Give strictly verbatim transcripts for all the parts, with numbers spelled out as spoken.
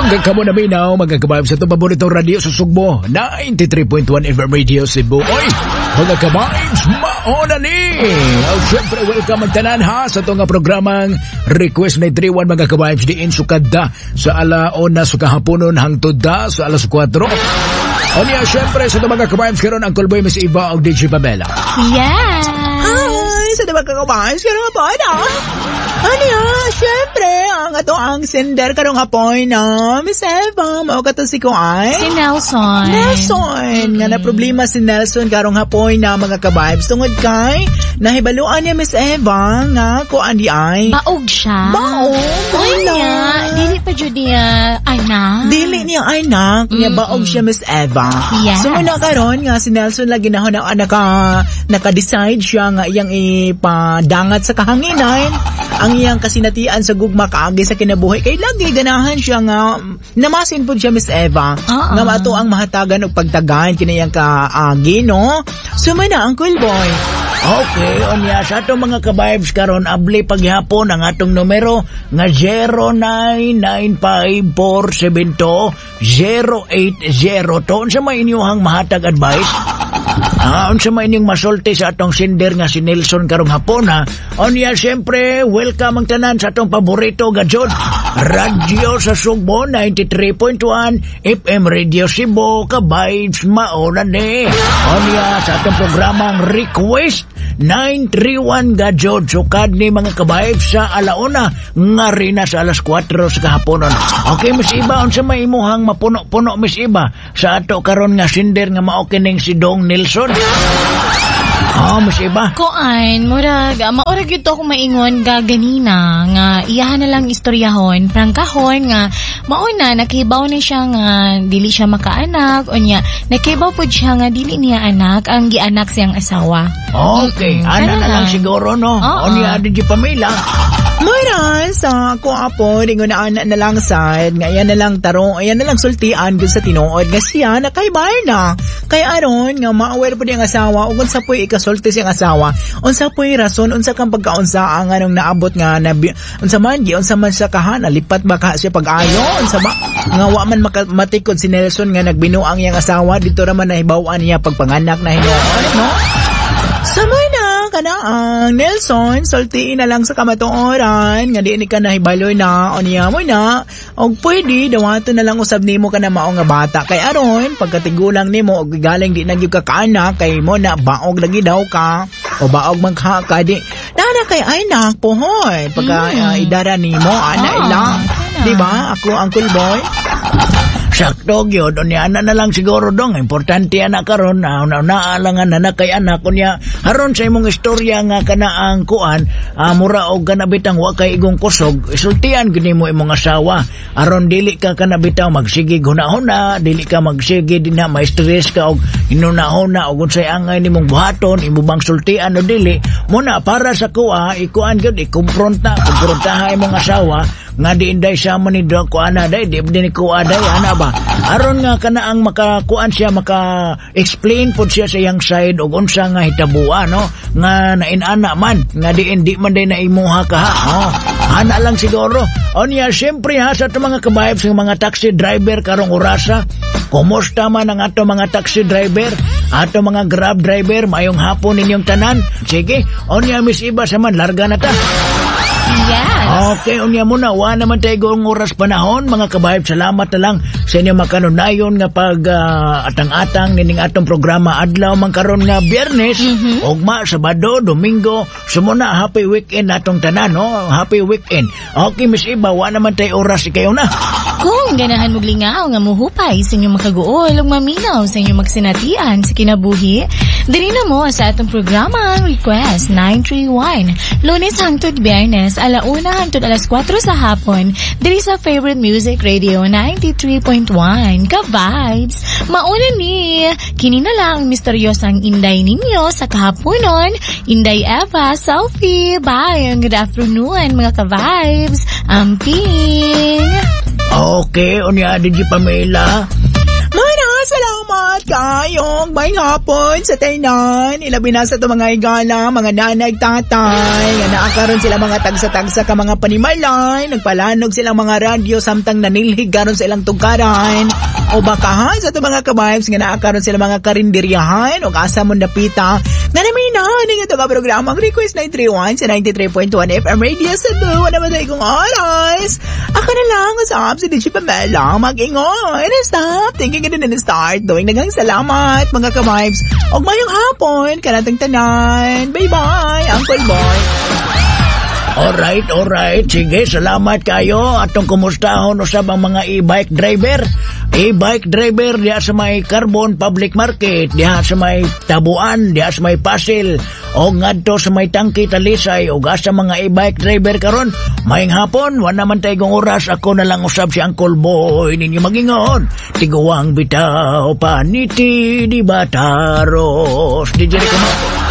Hanggang kamo na minaw, mga ka-vibes, sa itong paboritong radio sa Sugbo, ninety-three point one F M Radio Cebu. Oy, mga ka-vibes, mauna ni! Oh, syempre, welcome ang tanan ha sa itong programang Request nine three one, mga ka-vibes, diin sukad da sa alauna sa kahaponon hangtod da sa alas kwatro. O niya, syempre, sa itong mga ka-vibes, karon ang Callboy, Miss Eva o D J Pamela. Yes! Hi! Sa diba ka-vibes, karong hapon ah. Ano yan? Syempre, ang ato ang sender karong hapon na Miss Eva, mao kato si Kuan. Si Nelson. Nelson! Nga na problema si Nelson karong hapon na, mga ka-vibes, tungod kay nahibaluan niya, Miss Eva, nga kuan di ay. Baog siya. Baog? Uy Wala. Niya, dili pa jud niya anak. Dili niya anak, niya baog siya, Miss Eva. Yes. So muna karon nga si Nelson lagi na na naka naka-decide siya nga iyang ipadangat sa kahanginan ang iyang kasinatian sa gugma kaagi sa kinabuhi kay lagi ganahan siya nga namasin pud siya, Miss Eva, Oo. nga mato ang mahatagan og pagtagan kini iyang kaagi, no? Sumana ang cool boy. Okay, unya sa atong mga ka-vibes karon abli paghapon ang atong numero nga zero nine nine five four seven two zero eight zero two. Unsa may inyong mahatag advice? Ah, unsa may inyong masulti sa atong sender nga si Nelson karong hapon ha? Unya siyempre, welcome ang tanan sa atong paborito gajod. Radyo sa Sugbo ninety-three point one F M Radio Cebu, ka-vibes, mauna ni. Unya sa atong programang Request nine three one gajod sukad ni, mga ka-vibes, sa alauna nga rin na sa alas kwatro sa kahaponon. Okay, Miss Iba, unsa may imuhang mapuno-puno, Miss Iba, sa ato karon nga sender nga mao kining si Dong Nelson? Oh, Miss Iba. Kuan, murag, ah, maurag yun to akong maingon ga ganina, nga iyahan na lang istoryahon, prangkahon nga, mauna, nakibaw na siya nga dili siya makaanak, unya, nakibaw po siya nga dili niya anak, ang gianak siyang asawa. Okay, Mm-mm. ana Ano na lang lang? Siguro, no? Oo. Unya, D J Pamela. Mara sa ako apo, ringon na ana na lang sad, nga yan na lang tarong, ayan na lang sultian gud sa tinuod nga siya nakaibay na. Kay aron nga ma-aware po ang asawa ug unsa po'y ikasulti siyang asawa, unsa po'y rason, unsa kang pagkaunsa ang anong naabot nga nabi, unsa man gi unsa man siya kaha, nalipat ba ka siya pag-ayo, unsa ba nga wa man maka, matikod si Nelson nga nagbinuang iyang asawa dito ra man nahibaw-an niya pagpanganak na hinuon, no? Samay na kana ang Nelson, sultiin na lang sa kamatuoran nga di ni ka nahibaloy na unya mo na og pwede dawaton na lang usab nimo kana mao nga bata kay aron pagkatigulang nimo og galing di na gyud ka kaanak kay mo na baog lagi daw ka o baog man ka ka di nana kay anak pohon pagka Mm. uh, idara nimo ana Ah, ila kana. di ba ako ang cool boy? Sakto gyud, unya ana na lang siguro dong. Importante ana karon na una lang nga na kay anak unya aron sa imong istorya nga kana ang kuan ah, mura og kana bitang wa kay igong kusog, isultian gid nimo imong asawa aron dili ka kana bitaw magsige hunahuna, dili ka magsige dinha ma-stress ka og hinunahuna og unsay angay nimong buhaton, imo bang sultian o dili. Muna para sa kuha, ikuan gyud, ikumpronta, kumprontaha imong asawa nga di inday sama ni do kuan na day di di ni kuha day ana ba aron nga kana ang makakuan siya, maka explain pod siya sa iyang side og unsa nga hitabua, no, nga nainana man nga di hindi man day na imuha ka ha. Oh, ana lang siguro. Onya siyempre ha, sa atong mga ka-vibes ng mga taxi driver karong orasa, kumusta man ang ato mga taxi driver, ato mga Grab driver? Mayong hapon ninyong tanan. Sige, onya Miss Iba, sa man larga na ta. Yes. Okay, unya muna, wa naman tayo gong oras panahon, mga ka-vibes. Salamat na lang sa inyong makanunayon nga pag ah, atang-atang nining atong programa adlaw man karon nga Biyernes, ugma Sabado, Domingo, sumuna happy weekend atong tanan, no? Happy weekend. Okay, Miss Iba, wa naman tayo oras, ikaw na. Kung ganahan mo lingaw nga muhupay sa inyong makaguol ug maminaw sa inyong magsinatian sa kinabuhi, diri na mo sa atong programa Request nine three one. Lunes hangtod Biyernes, alauna hangtod alas kwatro sa hapon, diri sa Favorite Music Radio ninety-three point one. Ka-vibes, mauna ni, kini na lang ang misteryosang inday ninyo sa kahaponon, Inday Eva, Selfie. Bye, and good afternoon, mga ka-vibes. Amping! Okay, unya D J Pamela. Mana, salamat. Salamat kayo. Maayong hapon sa tanan. Ilabi na sa atong mga higala, mga nanay, tatay. Nga naa karon sila mga tagsa-tagsa ka mga panimalay. Nagpalanog silang mga radyo samtang nanilhig karon sa ilang tugkaran. O baka ha, sa atong mga ka-vibes nga naa karon sila mga karinderyahan o asa mo napita. Nga naminaw ning ato ka programa ang Request nine three one sa ninety-three point one F M Radio Cebu. Wala ba tayo kong oras? Ako na lang usab si D J Pamela mag-ingon. Stop thinking and then start doing. Daghang salamat, mga ka-vibes. Og mayong hapon kanatong tanan. Bye-bye, Uncle Boy. Alright, alright. Sige, salamat kayo. Atong kumustahon usab ang mga e-bike driver. E-bike driver diha sa may Carbon Public Market, diha sa may Tabuan, diha sa may Pasil, o ngadto sa may Tangki Talisay, o sa mga e-bike driver karon. Maayong hapon, wala man tayo oras. Ako na lang usab si Uncle Boy ninyo magingon. Tiguang bitaw, paniti di bataros. D J Rico Mambo.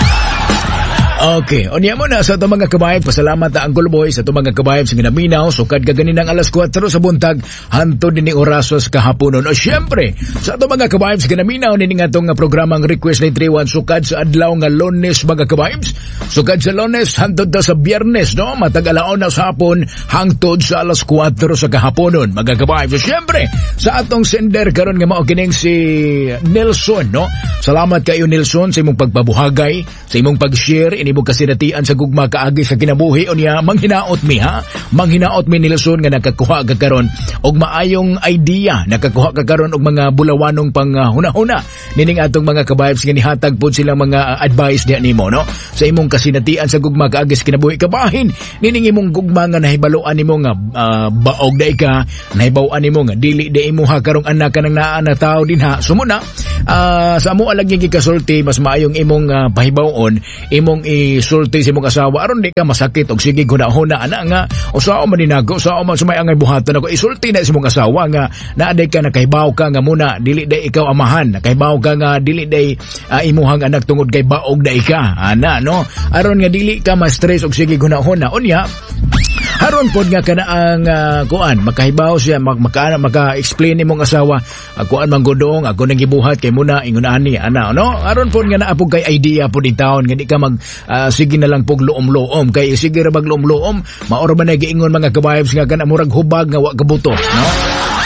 Okay, unya mo na sa itong mga kabayan, pasalamat na Uncle Boy sa itong mga kabayan sa ginaminaw, sukad kaganinang alas kwatro sa buntag, hantod ni orasos kahaponon. O syempre, sa itong mga kabayan sa ginaminaw, nini nga itong programang Request nine three one, sukad sa adlaw nga Lunes, mga kabayan, sukad sa Lunes, hantod ta sa Biyernes, no? Matag alauna sa hapon, hangtod sa alas kwatro sa kahaponon, mga kabayan. So syempre, sa atong sender karon nga mao kining si Nelson, no? Salamat kayo, Nelson, sa imong pagpabuhagay, sa imong pag-share, ini mo kasinatian sa gugma kaagi sa kinabuhi. Unya manghinaot mi ha, manghinaot mi, Nelson, nga nakakuha ka karon og maayong idea, nakakuha ka karon og mga bulawanong pang uh, hunahuna nining atong mga ka-vibes nga nihatag pod silang mga uh, advice diha nimo, no, sa imong kasinatian sa gugma kaagi sa kinabuhi, kabahin nining imong gugma nga nahibaluan nimo nga uh, baog day ka, nahibaw-an nimo nga dili di imo ha karong anak kanang naa na tao dinha. Sumuna uh, sa amo alag nga gikasulti, mas maayong imong uh, pahibaw-on, imong isulti sa imong asawa aron di ka masakit og sige huna-huna ana nga usaon man ninago, usaon man sumay angay buhaton ako. Isulti na sa imong asawa nga naaday ka, nakahibaw ka nga muna dili day ikaw amahan, nakahibaw ka nga dili day uh, imuhang anak tungod kay baog day ka ana, no, aron nga dili ka ma-stress og sige huna-huna. Unya haron pod nga kana ang uh, kuan, makahibaw siya, mak maka, maka-explain imong asawa, uh, kuan man godong ako nang gibuhat kay muna ingon ani ana, no, aron pod nga naa pod kay idea pod in taon nga di ka mag uh, sige na lang pog luom-luom, kay sige ra bag luom-luom, maoro man na giingon, mga ka-vibes, nga kana murag hubag nga wa kabuto, no?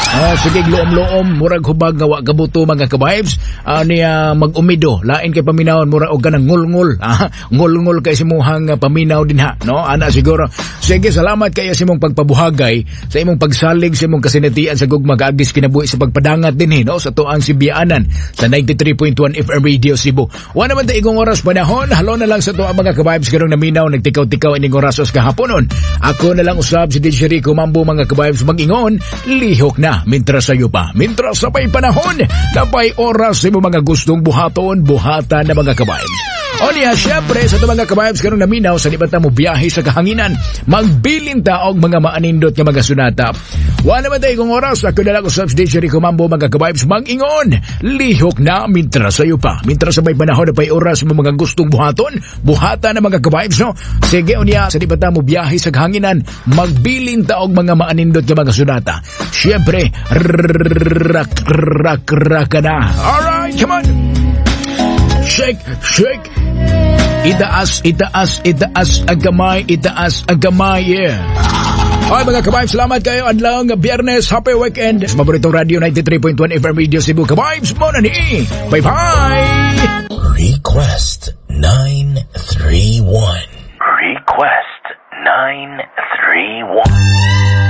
Oh, sige luom-luom, murag hubag nga wa kabuto, mga ka-vibes. Uh, niya mag-umido, lain kay paminawon, murag og kanang ngulngul. Ah, ngulngul kay simuhang uh, paminaw dinha, no? Ana siguro. Sige, salamat kayo sa imong pagpabuhagay, sa imong pagsalig sa imong kasinatian sa gugma kaagis kinabuhi, sa pagpadangat dinhi, no, sa tuang Sibianan sa ninety-three point one F M Radio Cebu. Wa naman ta igong oras panahon, halo na lang sa tuang mga ka-vibes karong naminaw nagtikaw-tikaw ining orasos kahaponon. Ako na lang usab si D J Rico Mambo, mga ka-vibes, mag-ingon, lihok na mintras sayo pa. Mintras sa pay panahon, napay oras sa imong mga gustong buhaton, buhatan na, mga ka-vibes. O niya, syempre, sa itong mga ka-vibes karong naminaw, sa di ba ta mo biyahe sa kahanginan, magbilin ta og mga maanindot nga mga sunata. Wala naman tayo kung oras, ako na lang usab si D J Rico Mambo, mga ka-vibes, mag-ingon, lihok na mintras sayo pa. Mintras sa may panahon na pay oras mo mga gustong buhaton, buhatan na, mga ka-vibes, no? Sige, unya, sa di ba ta mo biyahe sa kahanginan, magbilin ta og mga maanindot nga mga sunata. Syempre, rak, rak, rak na. Alright, come on! Shake, shake. Itaas, itaas, itaas ang kamay, itaas ang kamay, yeah. Ay, mga ka-vibes, salamat kayo. Adlaw nga Biyernes, happy weekend. Sa paboritong radio ninety-three point one F M Radio Cebu. Ka-vibes mo na ni. Bye-bye! Request nine three one. Request nine three one.